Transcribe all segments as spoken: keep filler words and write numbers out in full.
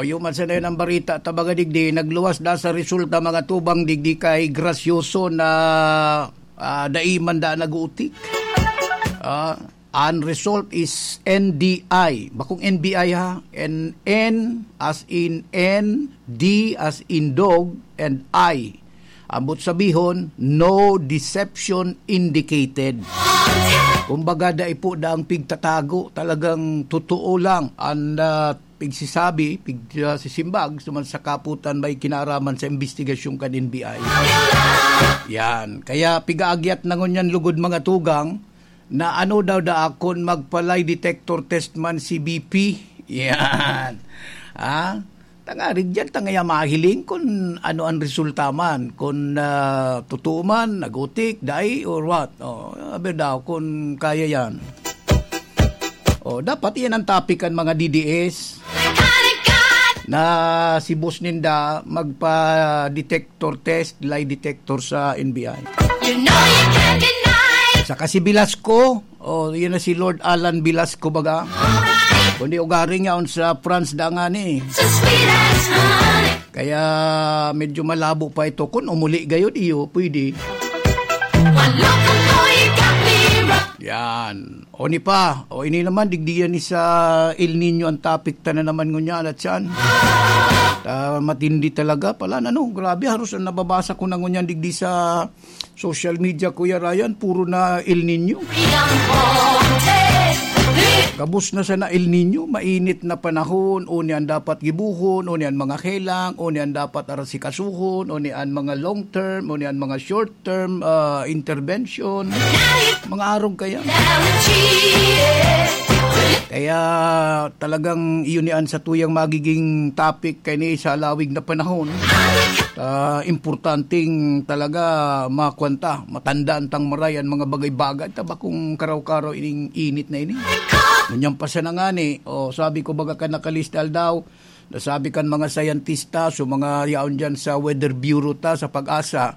O, yun man sana yun ang barita, tabaga digdi, nagluwas na sa resulta, mga tugang, digdi kay Gracioso na, ah, dai man da nag-uutik. Ah, ang result is N D I. Bakong N B I ha? N, N as in N, D as in dog, and I. Ambot sabihon, no deception indicated. Kumbaga, dai po daang pigtatago. Talagang totoo lang ang, ah, pigsisabi, pig-, ah, sisimbag, suman sa kaputan may kinaraman sa investigasyon kan N B I. Yan. Kaya pigaagyat na ngunyan lugod, mga tugang, na ano daw daa kun magpa-lie detector test man si B P. Yan. Ah, tangarig diyan, tangaya mahiling kun ano ang resulta man, kun, ah, totoo man, nagutik, dai, or what. Oh, sabi daw, kun kaya yan. Oh, dapat iyan ang topic kan mga D D S. Na si boss ninda magpa-detector test, lie detector sa N B I. You know you can't deny. Saka si Velasco, oh, yun na si Lord Alan Velasco baga. Alright. Kundi ugaring yaon sa France da nga ni. So sweet as honey. Kaya medyo malabo pa ito. Kung umuli gayod, iyo, pwede. One look ago, you got me wrong. Yan. O ni pa, o ini naman, digdi yan ni sa El Niño ang topic ta na naman ngunyan at siyan. Ah, matindi talaga pala, ano, grabe, haros ang nababasa ko na ngunyan digdi sa social media, Kuya Ryan, puro na El Niño. Gabos na sana El Niño, mainit na panahon, o niyan dapat gibuhon, o niyan mga helang, o niyan dapat arasikasuhon, o niyan mga long term, o niyan mga short term, ah, intervention, mga arog kaya. Kaya talagang iyon ni an sa tuyang magiging topic kay ni sa alawig na panahon. Ah, importanteng talaga makwanta, matandaan tang maray an mga bagay-bagay, ta bakong karaw-karaw ining init na ini. Ngunyan pa sana ngani, o sabi ko baga kan nakalista aldaw, nasabi kan mga sayantista, so mga yaon dyan sa Weather Bureau ta, sa PAGASA,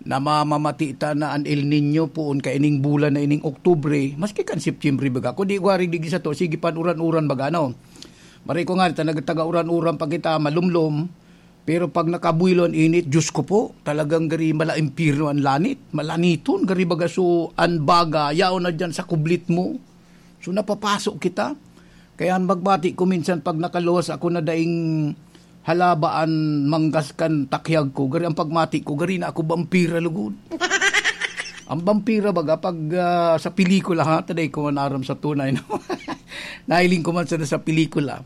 na mamamati ta na an El Niño poon kaining bulan na ining Oktubre, maski kan Setyembre baga. Kundi wari digdi sato, sige pan uran-uran baga, no? Maray ko nga, ta nagtaga uran-uran pa kita, malumlom. Pero pag nakabuelo an init, Diyos ko po, talagang gari mala impyerno an lanit. Malaniton, gari baga so, an baga, yaon na dyan sa kublit mo. So, napapaso kita. Kaya ang magbati ko minsan pag nakaluwas ako na daing halaba an manggas kan takyag ko, gari ang pagmati ko, gari na ako bampira lugod. Ang bampira baga, pag, ah, sa pelikula, ha, taday ko man aram sa tunay, no? Nahiling ko man sana sa pelikula.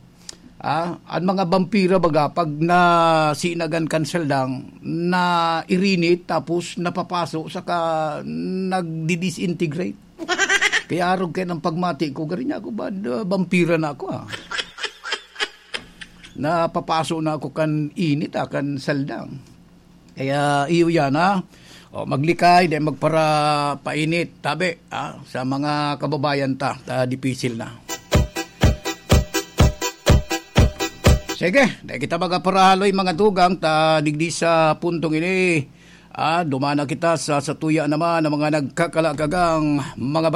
Ah, ang mga bampira baga, pag nasinagan kan saldang, na irinit, tapos napapaso, saka nagdi-disintegrate. Kaya arog kayo ng pagmati ko, gari niya ako, ba, da, vampira na ako, ah. Napapaso na ako kan init, ah, kan saldang. Kaya iyo yan, ha? O, maglikay, di magparapainit, tabi, ha? Sa mga kababayan ta, ta dipisil na. Sige, di kita magaparahaloy, mga tugang, ta digdi sa puntong ini, ah, dumana kita sa, sa tuya naman ng mga nagkakalakagang mga